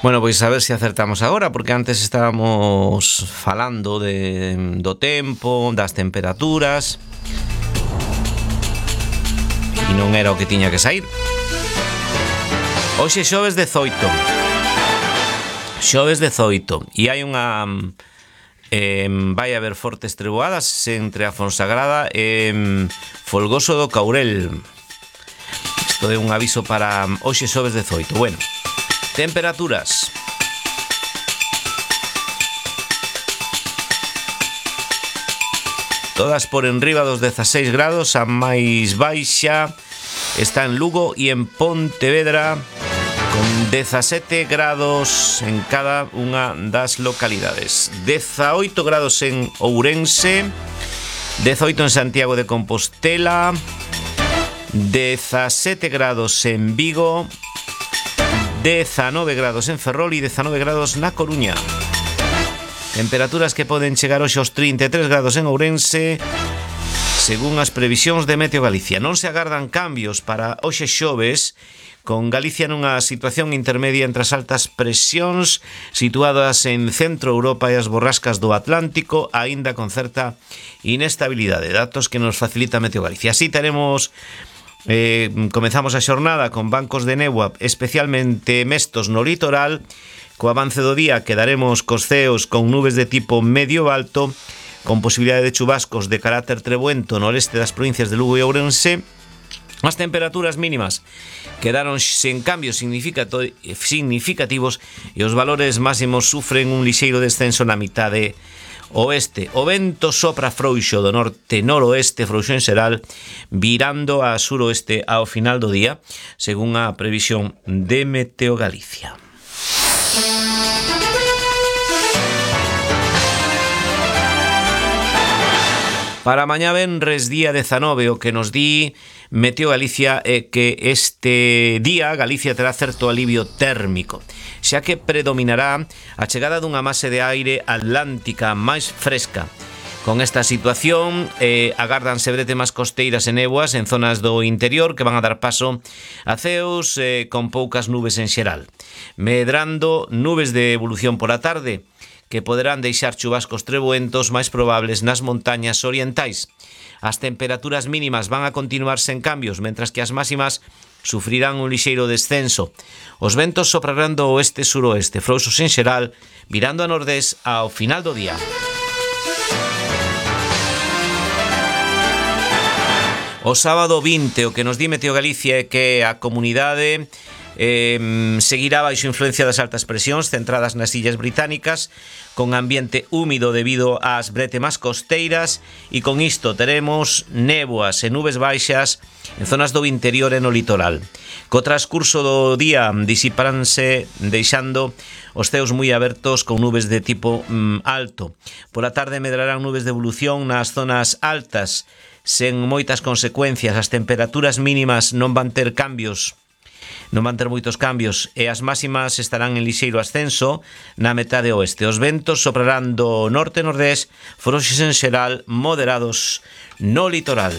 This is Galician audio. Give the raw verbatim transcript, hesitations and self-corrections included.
Bueno, pois a ver se acertamos agora, porque antes estábamos falando de, do tempo, das temperaturas, e non era o que tiña que sair. Hoxe xoves dezoito. Xoves dezoito. E hai unha... Eh, vai haber fortes treboadas entre a Fonsagrada e eh, Folgoso do Caurel. Isto é un aviso para hoxe xoves dezoito. Bueno, temperaturas. Todas por enriba dos dezaseis grados, a máis baixa está en Lugo e en Pontevedra, con dezasete grados en cada unha das localidades. dezaoito grados en Ourense, dezaoito en Santiago de Compostela, dezasete grados en Vigo, dezanove grados en Ferrol e dezanove grados na Coruña. Temperaturas que poden chegar hoxe aos trinta e tres grados en Ourense, según as previsións de Meteo Galicia. Non se agardan cambios para hoxe xoves, con Galicia nunha situación intermedia entre as altas presións situadas en Centro Europa e as borrascas do Atlántico, aínda con certa inestabilidade. Datos que nos facilita Meteo Galicia. Así teremos... Eh, comezamos a xornada con bancos de néboa especialmente mestos no litoral. Co avance do día quedaremos cos ceos con nubes de tipo medio alto, con posibilidade de chubascos de carácter treboento no leste das provincias de Lugo e Ourense. As temperaturas mínimas quedaron sen cambios significativos e os valores máximos sufren un lixeiro descenso na mitade oeste. O vento sopra frouxo do norte-noroeste, frouxo en xeral, virando a suroeste ao final do día, según a previsión de Meteo Galicia. Para mañá venres día dezanove, o que nos di Meteo Galicia é que este día Galicia terá certo alivio térmico, xa que predominará a chegada dunha mase de aire atlántica máis fresca. Con esta situación eh, agárdanse bretemas costeiras e néboas en zonas do interior que van a dar paso a ceos eh, con poucas nubes en xeral, medrando nubes de evolución por a tarde, que poderán deixar chubascos treboentos máis probables nas montañas orientais. As temperaturas mínimas van a continuar sen cambios, mentras que as máximas sufrirán un lixeiro descenso. Os ventos soprarán do oeste-suroeste, frouxos en xeral, virando a nordés ao final do día. O sábado vinte, o que nos di Meteo Galicia é que a comunidade eh, seguirá baixo influencia das altas presións centradas nas illas británicas, con ambiente húmido debido ás bretemas costeiras, e con isto teremos néboas e nubes baixas en zonas do interior e no litoral. Co transcurso do día disiparanse deixando os ceos moi abertos con nubes de tipo mm, alto. Pola tarde medrarán nubes de evolución nas zonas altas, sen moitas consecuencias. As temperaturas mínimas non van ter cambios non van ter moitos cambios e as máximas estarán en lixeiro ascenso na metade oeste. Os ventos soprarán do norte-nordés, frouxos en xeral, moderados no litoral.